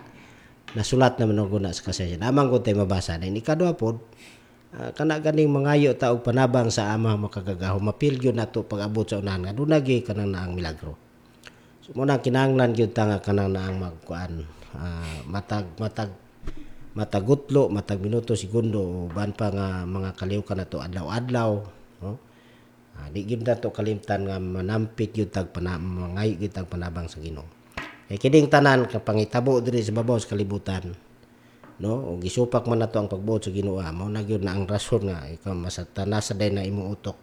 nasulat naman og na sa kasaysayan. Amang ko tay mabasa din ikaduha pod kana ganing mangayo ta og panabang sa Ama makagagahom mapil gyud nato pag-abot sa unahan nga duna gyud kanang naang milagro. So mo na kinahanglan gyud ta nga kanang naang magkuan matag matag matagutlo, matag minuto, segundo uban pa nga mga kaliwkan nato adlaw-adlaw no. Di gyud nato kalimtan nga manampit gyud tag mangayo gyud tag panabang sa Ginoo. Kay kining tanan ka pangitabo diri sa babaw sa kalibutan no, ug gisupak man nato ang pagbuot sa Ginoo, mao na gyud na ang rason nga ikaw masatanasa day na imong utok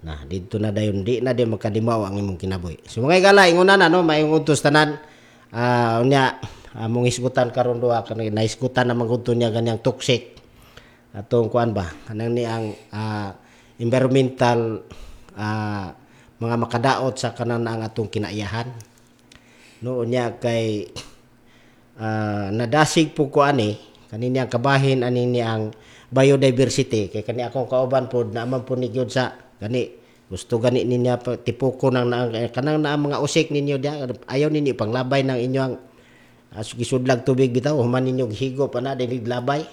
na didto na dayon di na di magkadimaw ang imong kinabuhi. So mga igala, ingon na no, maayong udto sa tanan. Unya among hisgutan karon duha kanang nahisgutan na man niya ganyang toxic atong kuan ba kanang ni ang environmental mga makadaot sa kanan ang atong kinaiyahan no. Unya kay Nadasig po ko ani kani niyang kabahin ani niyang biodiversity kay kani akong kauban pod naaman po ni gyud sa kani gusto gani ninya tipuko nang kanang naa mga usik ninyo diya, ayaw ninyo panglabay ng inyong gisudlag tubig bitaw, human ninyo gihigo pa na dili labay.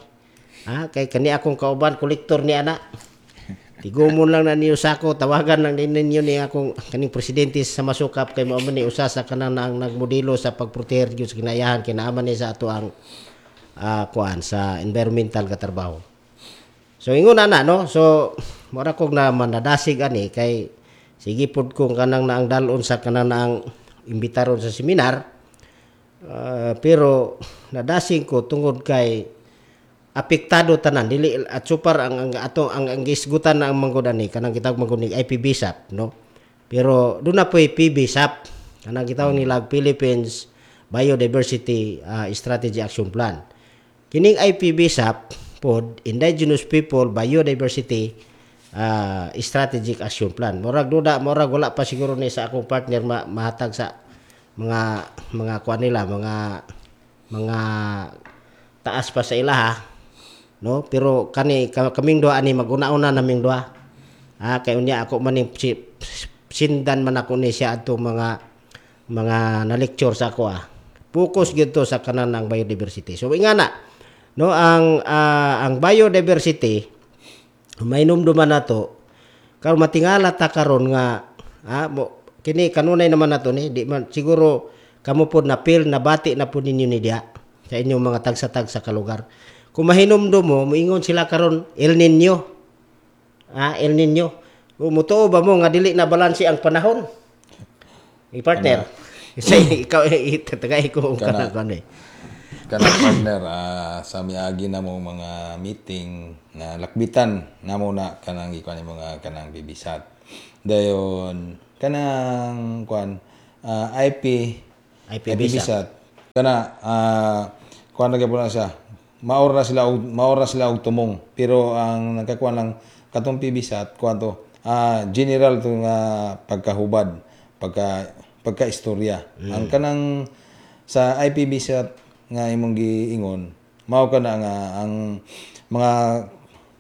Kay kani akong kauban, kolektor ni ana. Tigumon lang na niyo sako, tawagan lang din ninyo ni akong kaning presidente sa Masukap kay mao man ni usa sa kanang ang nagmodelo sa pagproteher gyud sa kinayahan kinaaman ni sa ato ang kuan sa environmental ka trabaho. So ingon ana, no. So mura kog na manadasig ani kay sige pod kong kanang naang dalon sa kanang naang imbitaron sa seminar. Pero nadasig ko tungod kay apektado tanan, dili at super ang ato ang gisgutan na ang manggod ani kanang gitawag manggod ni IPBSAP, no. Pero doon na po'y PBSAP, kanang gitawag nila Philippines Biodiversity Strategy Action Plan. Kining IPBSAP pod, Indigenous People Biodiversity Strategic Action Plan. Murag duda, murag wala pa siguro ni sa akong partner mahatag sa mga kuan nila, mga taas pa sa ilaha, no. Pero kani kaming duha ani maguna-una naming duha, kay unya ako man sindan man ako ni siya adtong mga na lecture sa ako, focus gyud to sa kanan ng biodiversity. So ingana, no, ang biodiversity mainumduman nato karon, matingala ta karon nga mo, kini kanunay naman nato ni, di man siguro kamo pod na feel, nabati na pod ninyo ni diya sa inyong mga tagsa-tagsa ka lugar. Kung mahinumdum mo, moingon sila karon El Nino. El Nino. Mutuo ba mo nga dili na balanse ang panahon? I-partner. Isa ikaw itagay ko ang Kana. Kanang kuan eh. Kana, partner, sa miagi na mo mga meeting na lakbitan namo na kanang gikuan ni mga kanang bibisat. Dayon kanang kuan IP IPBSAT. IPBSAT. Kana kuan na gyapon na siya. Maor na sila og tumong. Pero ang nagkakuan lang katong PBSAT kuan to general to nga pagkahubad, pagka istorya. Ang kanang sa IPBSAT nga imong giingon, mao kana nga ang mga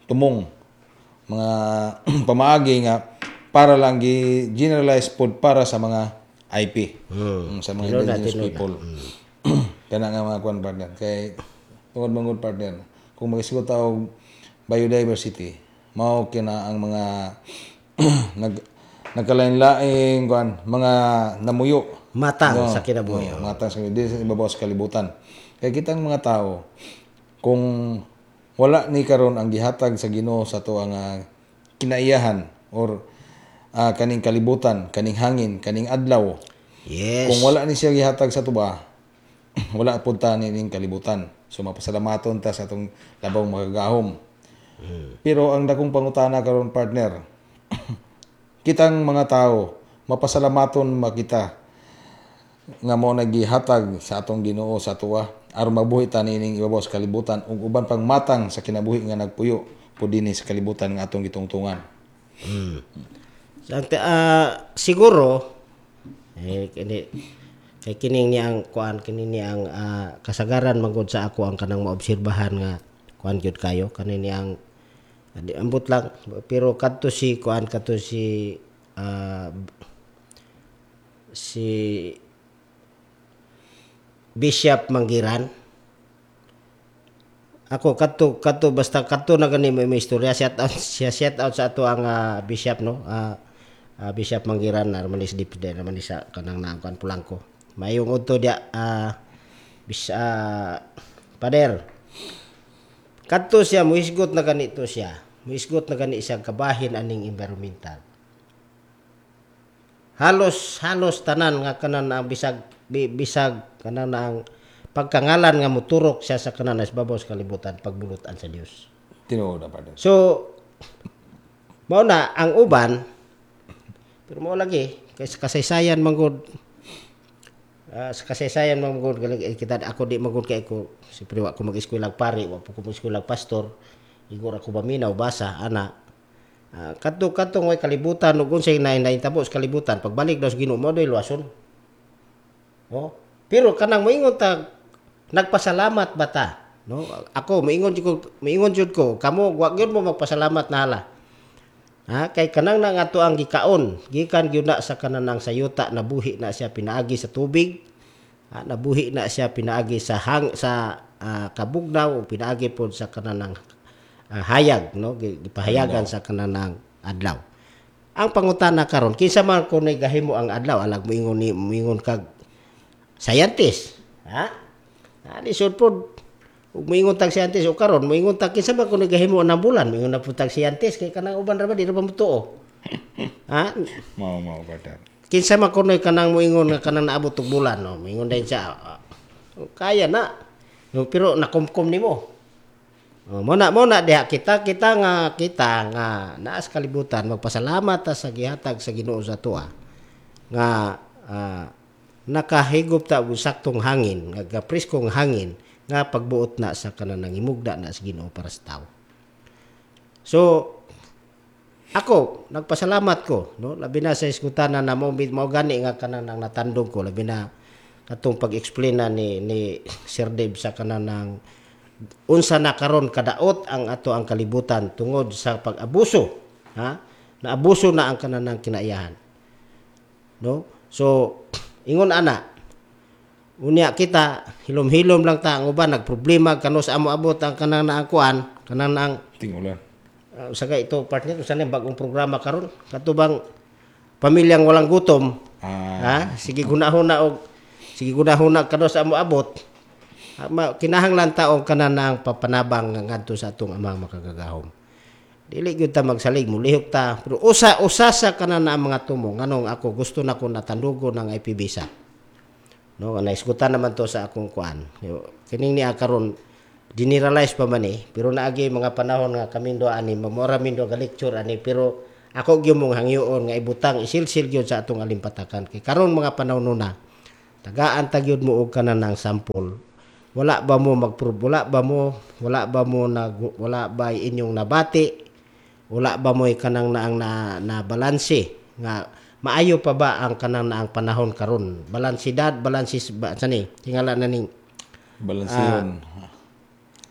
tumong, mga pamaagi nga para lang gi generalize pod para sa mga IP. Sa mga Tinuod na, indigenous tinuod na. People. Kana nga mga kuan, partner, kay tungod mangod, partner, kung magisgot ta og biodiversity, mao kina ang mga nagkalain-laing kuan, mga namuyo matang No, sa kinabuhi. No, matang sa di sa ibabaw sa kalibutan. Kay kitang mga tao, kung wala ni karon ang gihatag sa Ginoo sa ato ang kinaiyahan or kaning kalibutan, kaning hangin, kaning adlaw. Kung wala ni siya gihatag sa tuba, wala pud ta nining kalibutan. So mapasalamaton ta sa atong labong makagahom. Pero ang dakong pangutana karon, partner, kitang mga tao, mapasalamaton makita nga mo nagihatag sa atong Ginoo sa atuwa aron mabuhi ta nining ibabaw sa kalibutan ug uban pang matang sa kinabuhi nga nagpuyo po dinhi sa kalibutan nga atong gitungtungan. So, siguro eh kini kay kining niya ang kuan, kini niya ang kasagaran manggod sa ako ang kanang maobserbahan nga kuan gyud kayo kani niya ang di, ambot lang, pero kadto si kuan, kadto si si Bishop Manggiran. Ako kadto kadto basta kadto na gani may istorya, shout out siya, shout out sa ato ang bishop, no, Bishop Manggiran na man is DPD naman ni sa kanang naangkuan Pulangko. Mayong udto dia, bis pader. Kadto siya muhisgot na ganito siya, muhisgot na gani siya kabahin aning environmental. Halos halos tanan nga kanan ang bisag bisag kanan ang pagkangalan nga muturok siya sa kanan sa babaw sa kalibutan, pagbulutan sa Dios. Tinuod na, partner. So mao na ang uban, pero mao lagi kay sa kasaysayan manggod, sa kasaysayan manggod eh, kita ako di manggod kay ko siyempre wa ko mag-eskwela pari, wa po ko mag-eskwela pastor, igor ako paminaw basa ana. Kadto kadto way kalibutan ug unsay nahitabo sa kalibutan, pagbalik daw sa Ginoo mo doy luwason. Oh, pero kanang moingon ta Nagpasalamat ba ta? No? Ako moingon jud ko, kamo wa gyud mo magpasalamat na hala. Ha, kay kanang na nga ato ang gikaon, gikan gyud na sa kanang sayuta, nabuhi na siya pinaagi sa tubig, ha, nabuhi na siya pinaagi sa hang sa kabugnaw o pinaagi pod sa kanang hayag, no, gipahayagan sa kanang adlaw. Ang pangutana karon, kinsa man kuno'y gahimo ang adlaw? Alag moingon ni moingon kag scientist, ha? Ha, lisod pod ug moingon tag scientist. O karon moingon tag kinsa man kuno'y gahimo ang bulan, moingon na pud tag scientist kay kanang uban ra ba, di ra ba motuo? Ha? Mao mao, partner. Kinsa man kuno'y kanang moingon nga kanang naabot og bulan, no, moingon din siya, kaya na, no, pero nakumkum nimo. Oh, mo na diha kita kita nga naa sa kalibutan, magpasalamat ta sa gihatag sa Ginoo sa atoa nga nakahigop ta og saktong hangin, nga preskong hangin nga pagbuot na sa kanang himugda na sa Ginoo para sa tawo. So ako nagpasalamat ko, no, labi na sa iskutanan na mo mao gani nga kanang nang natandog ko, labi na katong pag-explain na ni Sir Dave sa kanang unsa na karon kadaot ang ato ang kalibutan tungod sa pag-abuso, ha, naabuso na ang kanang kinaiyahan, no? So ingon ana, unya kita hilom-hilom lang ta. Ang uban nagproblema kano sa amo abot ang kanang na ang kuan, kanang na ang Ting-ulan. Sa ito, partner, usa na bagong programa karon, kato bang pamilyang walang gutom? Ha, sige gunahuna og sige gunahuna kano sa amo abot. Ha, kinahanglan ta og kanan ang papanabang nga ngadto sa atong Amang makagagahom. Dili gyud ta magsalig, mulihok ta, pero usa usa sa kanan na ang mga tumo nganong ako gusto na ko natandugo ng IPBisa, no, naisgutan naman to sa akong kuan. Kining niya karon generalize pa man eh, pero naagi mga panahon nga kaming duha ani mamora min duha ga lecture ani, pero ako gyud mong hangyoon nga ibutang isilsil gyud sa atong alimpatakan kay karon mga panahon nuna tagaan ta gyud mo og kanan ng sample. Wala ba mo magprove? Wala ba mo nag wala ba inyong nabati? Wala ba mo kanang naang na balanse nga maayo pa ba ang kanang naang panahon karon, balansidad, balansis ba sani tingala na ning Balanseyon.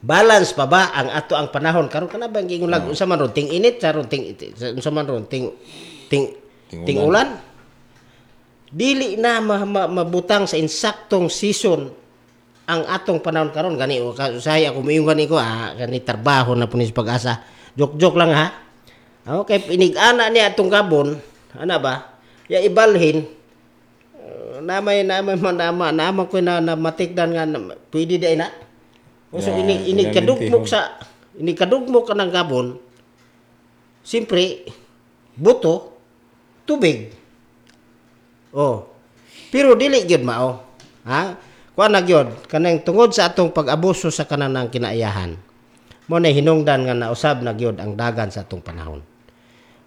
Balance pa ba ang ato ang panahon karon? Kana ba giingon lag unsa man ron, ting init sa ron, ting unsa man ron, ting ting Ting ting ulan, dili na mabutang sa insaktong season ang atong panahon karon. Gani o usahay ako moingon gani ko, gani trabaho na puno sa Pag-asa. Joke joke lang, ha. Okay, inig-ana niya atong gabon ana ba ya ibalhin, namay man nama nama ko na, na matikdan nga na, pwede di na. O, so Ya, inig inig ilang kadugmok lintihon. Sa inig kadugmok ka ng gabon, siyempre buto, tubig. Oh. Pero dili gyud mao. Ha? Kuan na gyud kanang tungod sa atong pag-abuso sa kanang kinaiyahan. Mo na hinungdan nga nausab na gyud ang dagan sa atong panahon.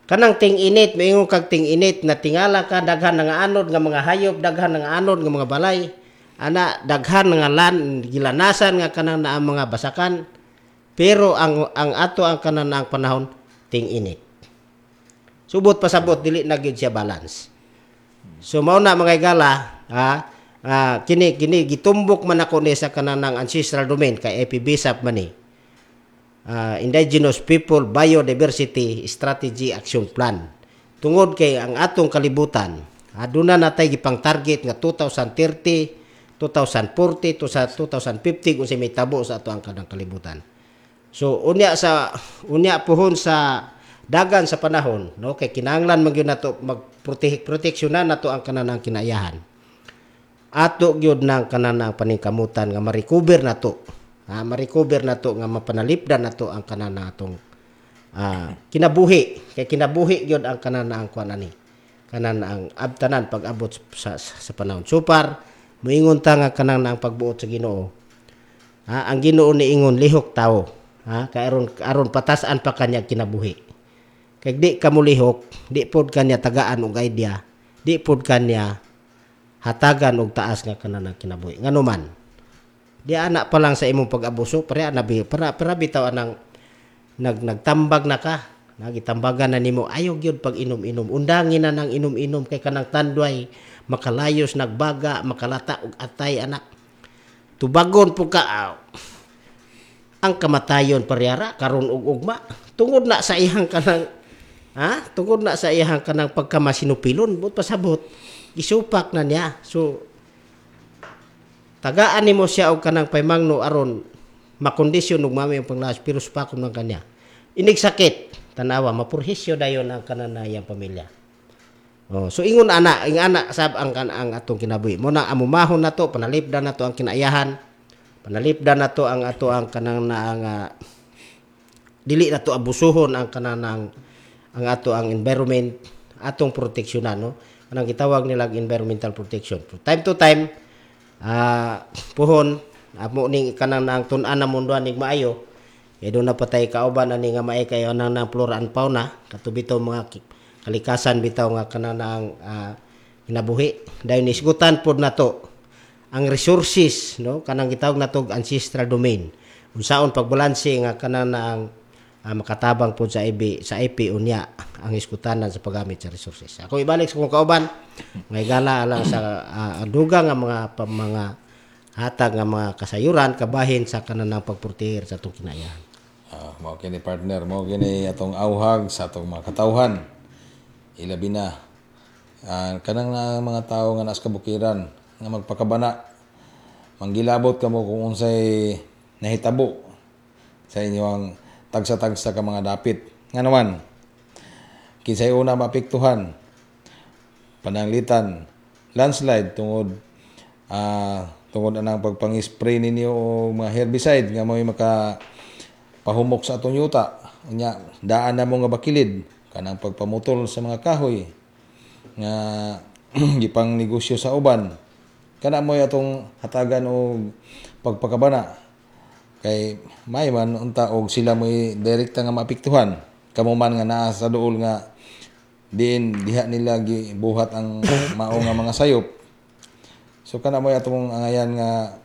Kanang ting-init, moingon kag ting-init na tingala ka daghan nga anod nga mga hayop, daghan nga anod nga mga balay. Ana daghan nga lan gilanasan nga kanang naa mga basakan. Pero ang ato ang kanan ang panahon ting-init. Subot pasabot dili na gyud siya balance. So mao na, mga igala, ha, kini kini gitumbok man ako ni sa kanang ancestral domain kay APBSAP man ni. Indigenous People Biodiversity Strategy Action Plan. Tungod kay ang atong kalibutan, aduna natay gipang target nga 2030, 2040 to sa 2050 kung may tabo sa ato ang kanang kalibutan. So unya puhon sa dagan sa panahon, no, kay kinahanglan man gyud nato mag proteksyonan nato ang kanang kinaiyahan. Ato gyud nang kanang paningkamutan nga ma-recover nato. Ha, ma-recover nato nga mapanalipdan nato ang kanan atong kinabuhi, kay kinabuhi gyud ang kanan ang kuan ani. Kanan ang abtanan pag-abot sa panahon. So far, moingon ta nga kanang ang pagbuot sa Ginoo. Ha, ang Ginoo niingon lihok tawo. Ha, kay aron aron patas-an pa kanya kinabuhi. Kay di ka molihok, di pod kanya tagaan og idea, di pod kanya hatagan og taas nga kanan ang kinabuhi. Ngano man, di ana pa lang sa imong pag-abuso, para na para bitaw anang nagtambag na ka, nagitambagan na nimo ayaw gyud pag inom-inom. Undangin na nang inom-inom kay kanang tanduay makalayos nagbaga, makalata og atay anak. Tubagon po ka ang kamatayon parehara karon ug ugma tungod na sa iyang kanang, ha, tungod na sa iyang kanang pagkamasinupilon, but pasabot gisupak na niya. So tagaan nimo siya og kanang paymangno aron makondisyon ug mami ang panglawas, pero supakon man kanya inig sakit, tanawa, mapurhisyo dayon ang kanan na iyang pamilya. Oh, so ingon ana, ing ana sab ang kan ang atong kinabuhi. Mo na amumahon nato, panalipdan nato ang kinaiyahan. Panalipdan nato ang ato ang kanang na ang dili nato abusuhon ang kanang ang ato ang environment, atong proteksyonan, no. Kanang gitawag nila environmental protection. From time to time, puhon amo ning kanang ang tun-an na mundo ning maayo. Kay doon na patay kauban ani nga maay kayo nang nang flora and fauna kato bitaw mga kalikasan bitaw nga kanang ang kinabuhi. Dayon isgutan pod nato ang resources, no, kanang gitawag nato ancestral domain, unsaon pagbalanse nga kanang na ang makatabang pod sa IB sa IP unya ang iskutanan sa paggamit sa resources. Ako ibalik sa kong kauban nga higala alang sa dugang nga mga mga hatag nga mga kasayuran kabahin sa kanang pagproteher sa atong kinaiyahan. Mao kini, partner, mao kini atong auhag sa atong mga katawhan. Ilabi na kanang na mga tawo nga naa sa kabukiran nga magpakabana. Manggilabot kamo kung unsay nahitabo sa inyong tagsa-tagsa ka mga dapit. Nga naman, kinsay una maapektuhan, pananglitan landslide tungod tungod anang pagpang-spray ninyo og mga herbicide nga mo'y maka pahumok sa atong yuta. Unya daan na mo nga bakilid kanang pagpamutol sa mga kahoy nga gipang negosyo sa uban. Kana mo'y atong hatagan og pagpakabana kay may man unta og sila mo'y direkta nga maapektuhan, kamo man nga naa sa duol nga diin diha nila gibuhat ang mao nga mga sayop. So kana mo'y atong angayan nga